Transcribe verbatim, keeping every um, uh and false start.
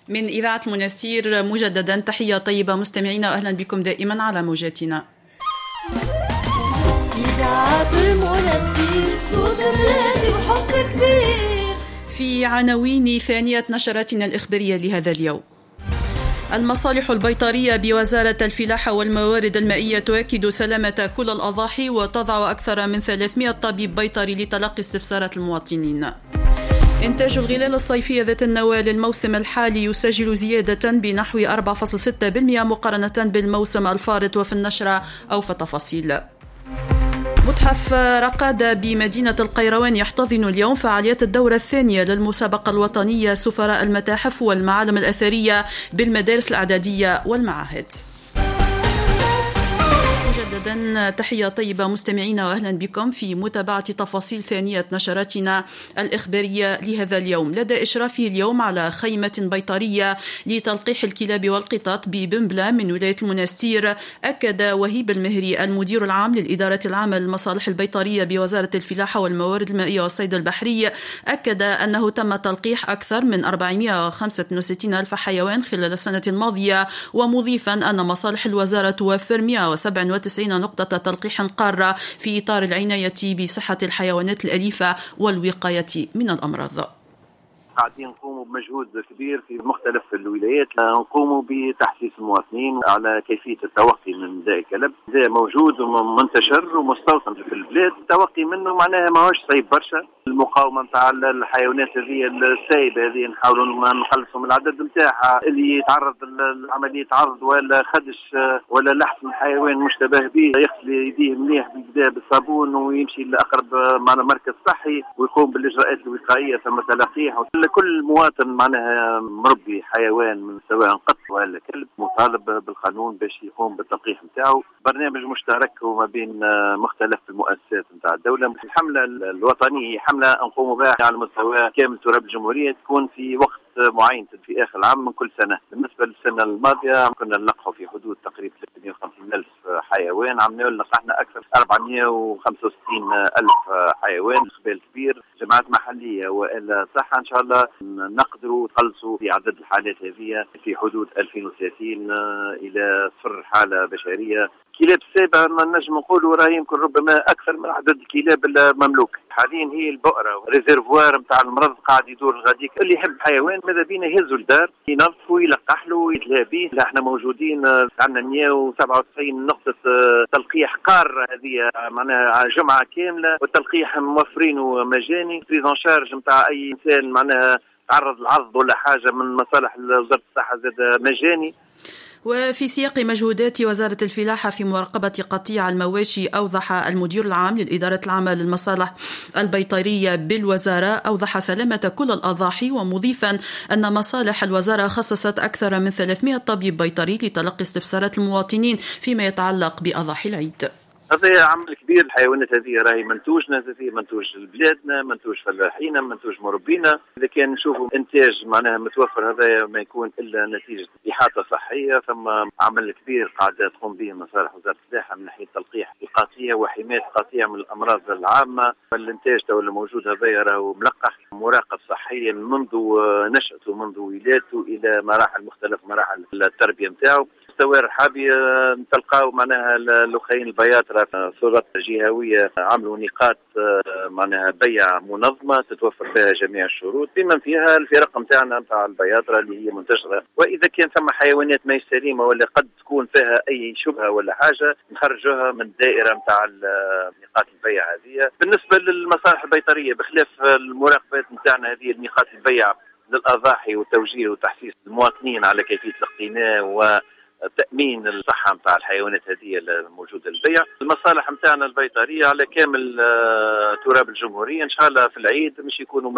من إذاعة المنستير مجددا تحية طيبة مستمعينا، وأهلا بكم دائما على موجاتنا. إذاعة المنستير، صوت بلادي وحب كبير. في عناوين ثانية نشراتنا الإخبارية لهذا اليوم: المصالح البيطرية بوزارة الفلاحة والموارد المائية تؤكد سلامة كل الأضاحي وتضع أكثر من ثلاثمئة طبيب بيطري لتلقي استفسارات المواطنين. إنتاج الغلال الصيفية ذات النواة للموسم الحالي يسجل زيادة بنحو أربعة فاصلة ستة بالمئة مقارنة بالموسم الفارط، وفي النشرة أوفى تفاصيل. متحف رقادة بمدينة القيروان يحتضن اليوم فعاليات الدورة الثانية للمسابقة الوطنية سفراء المتاحف والمعالم الأثرية بالمدارس الإعدادية والمعاهد. مجددا تحية طيبة مستمعينا، وأهلا بكم في متابعة تفاصيل ثانية نشراتنا الإخبارية لهذا اليوم. لدى إشرافه اليوم على خيمة بيطرية لتلقيح الكلاب والقطط ببنبلة من ولاية المنستير، أكد وهيب المهري المدير العام للإدارة العامة للمصالح البيطرية بوزارة الفلاحة والموارد المائية والصيد البحري، أكد أنه تم تلقيح أكثر من أربعمئة وخمسة وستين ألف حيوان خلال السنة الماضية، ومضيفا أن مصالح الوزارة توفر مئة وسبعة وتسعين نقطة تلقيح قارة في إطار العناية بصحة الحيوانات الأليفة والوقاية من الأمراض. قاعدين نقوموا بمجهود كبير في مختلف الولايات، نقوموا بتحسيس المواطنين على كيفية التوقي من داء الكلب. داء موجود ومنتشر ومستوطن في البلاد، التوقي منه معناها ماهوش صعيب برشا. المقاومة نتاع الحيوانات هذه السايبة هذه نحاولوا نقلصوا من العدد نتاعها. اللي يتعرض لعملية عض ولا خدش ولا لحس من حيوان مشتبه به يغسل يديه مليح بالبداية بالصابون ويمشي لأقرب معنا مركز صحي ويقوم بالإجراءات الوقائية، ثم تلقيح. كل مواطن معناها مربي حيوان من سواء قط ولا كلب مطالب بالقانون باش يقوم بالتلقيح نتاعو. برنامج مشترك وما بين مختلف المؤسسات نتاع الدولة. الحملة الوطنية هي حملة نقوم بها على مستوى كامل تراب الجمهورية، تكون في وقت معين في آخر العام من كل سنة. بالنسبة للسنة الماضية كنا نلقحوا في حدود تقريبا ثلاثمئة وخمسين ألف حيوان، عملنا لقحنا أكثر أربعمئة وخمسة وستين ألف حيوان. إقبال كبير، جماعات محلية وإلا صحة إن شاء الله نقدروا نقلصوا في عدد الحالات هذه في حدود ألفين وثلاثين إلى صفر حالة بشرية. كلاب السابعة ما نجم نقولوا راه يمكن ربما أكثر من عدد الكلاب المملوك حاليا. هي البؤرة réservoir نتاع المرض قاعد يدور غاديك. اللي يحب حيوان ماذا بينا يهزوا الدار، ينظفوا، يلقح له، يتلهى به. احنا موجودين عندنا مئة وسبعة وتسعين نقطة تلقيح قارة هذه معناها جمعة كاملة، والتلقيح موفرينه مجاني. prise en charge نتاع أي إنسان معناها تعرض لعض ولا حاجة من مصالح وزارة الصحة زاد مجاني. وفي سياق مجهودات وزارة الفلاحة في مراقبة قطيع المواشي، أوضح المدير العام للإدارة العامة للمصالح البيطرية بالوزارة أوضح سلامة كل الأضاحي، ومضيفا أن مصالح الوزارة خصصت أكثر من ثلاثمئة طبيب بيطري لتلقي استفسارات المواطنين فيما يتعلق بأضاحي العيد. هذا عمل كبير. الحيوانات هذه راهي منتوجنا، هذه منتوج بلادنا، منتوج فلاحينا، منتوج مربينا. اذا كان نشوفوا انتاج معناها متوفر هذا ما يكون الا نتيجة احاطة صحية. ثم عمل كبير قاعدة تقوم به مصالح وزارة الفلاحة من ناحية تلقيح القطيع وحماية القطيع من الامراض العامة. الانتاج تو اللي موجود هذا راهو ملقح، مراقب صحيا منذ نشأته، منذ ولادته الى مراحل مختلف مراحل التربية نتاعو. مستوى الرحابي تلقاو معناها اللخين البياطرة سلطات جهوية عملوا نقاط معناها بيع منظمة تتوفر فيها جميع الشروط بما فيها الفرق نتاعنا نتاع البياطرة اللي هي منتشرة. وإذا كان ثم حيوانات ما سليمة ولا قد تكون فيها أي شبهة ولا حاجة نخرجوها من الدائرة نتاع نقاط البيع هذه. بالنسبة للمصالح البيطرية بخلاف المراقبات نتاعنا هذه نقاط البيع للأضاحي وتوجيه وتحسيس المواطنين على كيفية الاقتناء و تأمين الصحة متاع الحيوانات هذه الموجودة للبيع. المصالح متاعنا البيطرية على كامل تراب الجمهورية إن شاء الله في العيد مش يكونوا